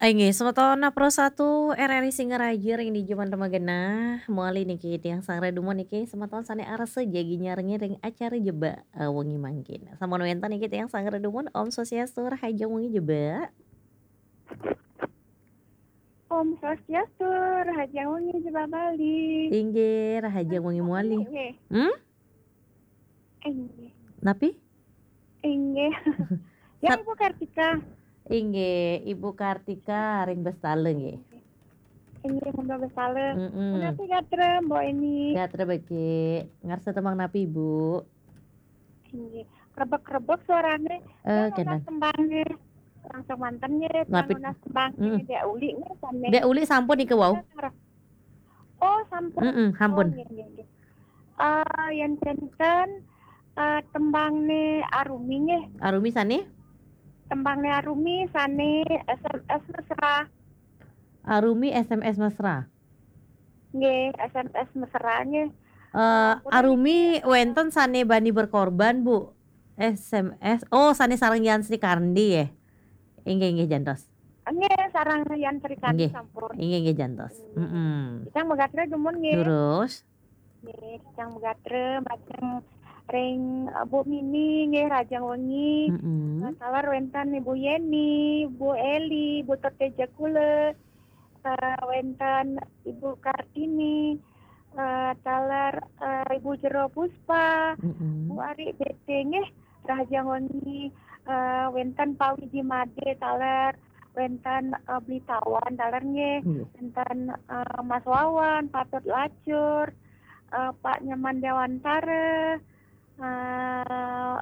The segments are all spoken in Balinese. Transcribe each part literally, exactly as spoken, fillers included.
Inggih, semeton Pro satu R R I Singaraja ring dija manten magenah. Mawali niki tiang Sang Redumun niki semeton sane arsa jagi nyarengin ring acara Jebak, eh, wengi mangkin. Sampun wenten niki tiang Sang Redumun, Om Swastiastu, rahajeng wengi Jebak. Om Swastiastu, rahajeng wengi Jebak Bali. Inggih, rahajeng wengi mawali. Nggih. Hmm? Inggih. Napi? Inggih. Ya, Sat- Ibu Kartika. Inggih, Ibu Kartika ring Bestala nggih. Inggih, Mbok Bestala. Mm-mm. Punapi gatra, Mbok Eni? Gatra becik. Ngarsa tembang napi, Ibu? Inggih. Krebek-krebek suarane. Eh, ya, kenten. Nunas tembange. Langsung manten nggih, napi? Nunas tembange. Mm-mm. Dek Uli nggih, sane. Dek Uli sampun niki wau. Oh, sampun. Mm-mm, sampun. Oh, nggih, nggih, nggih. Eh, yen kenten, eh, tembangne Arumi nggih. Arumi sane? Tembangne Arumi sane S M S mesra. Arumi S M S mesra. Nggih, S M S mesra nggih. Eh, ampun, Arumi niki, eh, wenten sane bani berkorban, Bu. S M S. Oh, sane sareng Yan Sri Kandi, ya? Inggih, inggih, jantos. Nggih, sareng Yan Sri Kandi. Nggih. Sampun. Inggih, inggih, jantos. Hmm. Mm-mm. Titiang magatra dumun nggih. Durus. Nggih, titiang magatra majeng ring, eh, Bu Mini nggih, rahajeng wengi. Mm-mm. Eh, taler wenten Ibu Yeni, Bu Eli, Bu Teteja Kula, eh, wenten Ibu Kartini, eh, taler, eh, Ibu Jero Puspa, mm-mm, Bu Ari B T nggih, rahajeng wengi, eh, wenten Pak Wiji Made taler, wenten, eh, Bli Tawan taler nggih, nggih, wenten, eh, Mas Wawan, Patut Lacur, eh, Pak Nyoman Dewantara, eh,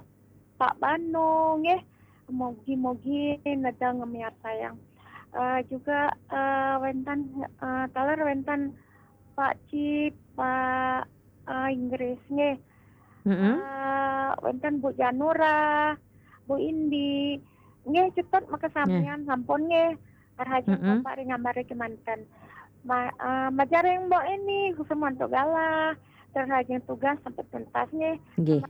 Pak Banu nggih, mugi-mugi nedeng miarsayang. Eh, juga, eh, wenten, eh, taler wenten Pak Cip, Pak, eh, Inggris nggih. Mm-mm. Eh, wenten Bu Janura, Bu Indi. Nggih, cetut makasamian. Nggih. Sampun nggih. Rahajeng, mm-mm, Bapak ring ambare kemanten. Ma-, eh, majeng ring Mbok Eni, suksma antuk galah. Rahajeng tugas sampun tuntas nggih. Nggih.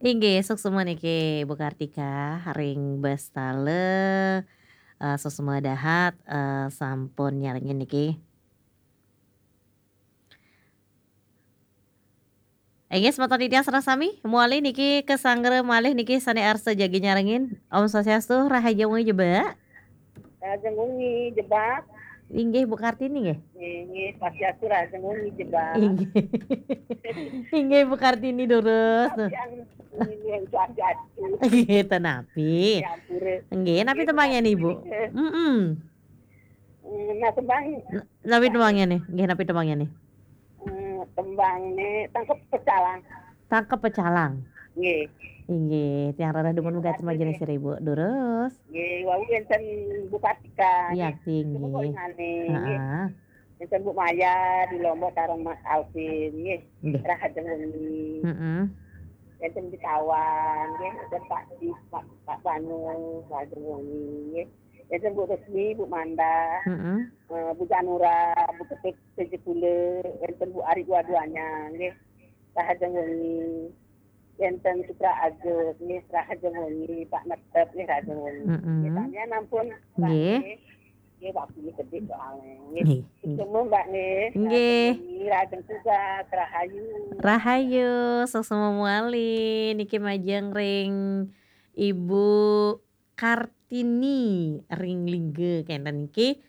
Inggih, suksma niki Bu Kartika ring Bestala, eh, suksma dahat, eh, sampun nyarengin niki. Inggih, semeton titiang sareng sami, mawali niki kasanggra malih niki sane arsa jagi nyarengin. Om Swastiastu, rahajeng wengi Jebak. Rahajeng wengi Jebak. Inggih, Bu Kartini nggih? Nggih, nggih, Swastiastu, rahajeng wengi Jebak. Inggih. Inggih, Bu Kartini durus. Tapi yang ini yang Swastiastu. Nggih, ten napi. Ya, ampure. Nggih, napi, nggih, tembangne, Bu Kartini, Ibu? Nggih. Mm-mm. Mm, nah, tembang. N-, napi tembangne? Nggih, napi tembangne? Mm, tembangne Tangkep Pecalang. Tangkep Pecalang. Nggih. Inggih, tiang rereh dumun. Nggih, megat makasih, semajane nggih. Seribu. Durus. Nggih, wau wenten Bu Kartika, nggih. Yakti, nggih. Nggih. Heeh. Wenten Bu Maya di Lombok sareng Mas Alvin, nggih. Nggih. Rahajeng wengi. Heeh. Wenten di Tawang, nggih. Wenten Pak Di, Pak, Pak Banu, rahajeng wengi, nggih. Wenten Bu Resmi, Bu Manda, heeh, eh, Bu Janura, Bu Ketut, Sejepule, wenten Bu Ari Waduanya, nggih. Rahajeng wengi. Wenten Sutra Agus, nggih, rahajeng wengi, Pak Netep, nggih, rahajeng wengi. Mm-mm. Nggih, samian ampun, Mbak, nggih. Nggih. Nggih, Pak Budi Kedik soalnya, nggih. Nggih, nggih. Ketemu, Mbak, nggih. Nggih. Rahajeng wengi, rahajeng tugas, rahayu. Rahayu, suksma mawali. Niki majeng ring Ibu Kartini ring Lingga, kenten niki.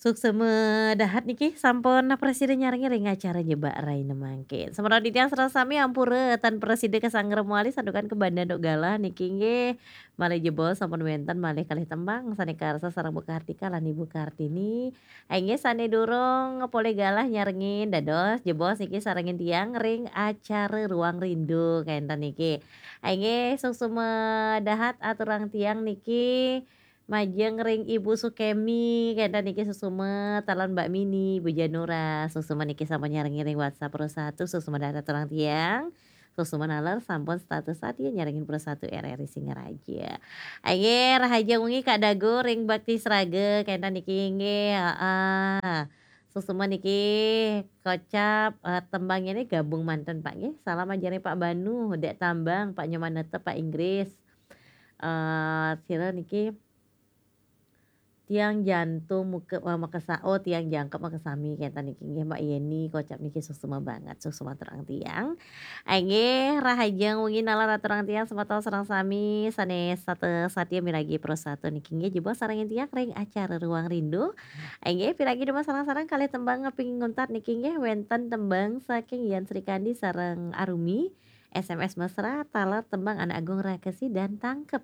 Suksma dahat niki sampun prasida nyarengin ring acara Jebak Rahina mangkin. Semeton titiang sareng sami ampura tan prasida kasanggra mawali santukan kabanda antuk galah niki nggih. Malih jebos sampun wenten malih kalih tembang sane karsa sareng Bu Kartika lan Ibu Kartini. Inggih sane durung polih galah nyarengin dados jebos niki sarengin tiang ring acara Ruang Rindu kenten niki. Inggih suksma dahat aturang tiang niki. Majeng ring Ibu Sukemi, kenten niki suksma, taler Mbak Mini, Ibu Janura, suksma niki sampun nyarengin ring WhatsApp Pro satu, suksma dahat aturang tiang, suksma naler sampun setata satia nyarengin Pro satu R R I Singaraja. Inggih, rahajeng wengi Kak Dago ring Bakti Sraga, kenten niki inggih, heeh. Suksma niki kocap, eh, tembangnya ini gabung manten Pak nggih. Salam aja ring Pak Banu, Dek Tambang, Pak Nyoman Netep, Pak Inggris. Eh, sira niki Tiang jantung muke-, eh, makesa-, oh, tiang jangkep makesami, kenten niki nggih, Mbak Yeni, kocap niki suksma banget, suksma aturang tiang. Inggih, rahajeng wengi nalar aturang tiang semeton sareng sami, sane sate-, satia miragi Pro Satu niki nggih, jebos sarengin tiang ring acara Ruang Rindu. Inggih, piragi dumun sareng-sareng kalih tembang ngaping nguntat niki nggih, wenten tembang saking Yan Srikandi sareng Arumi, S M S Mesra, taler tembang Anak Agung Rakesi dan Tangkep.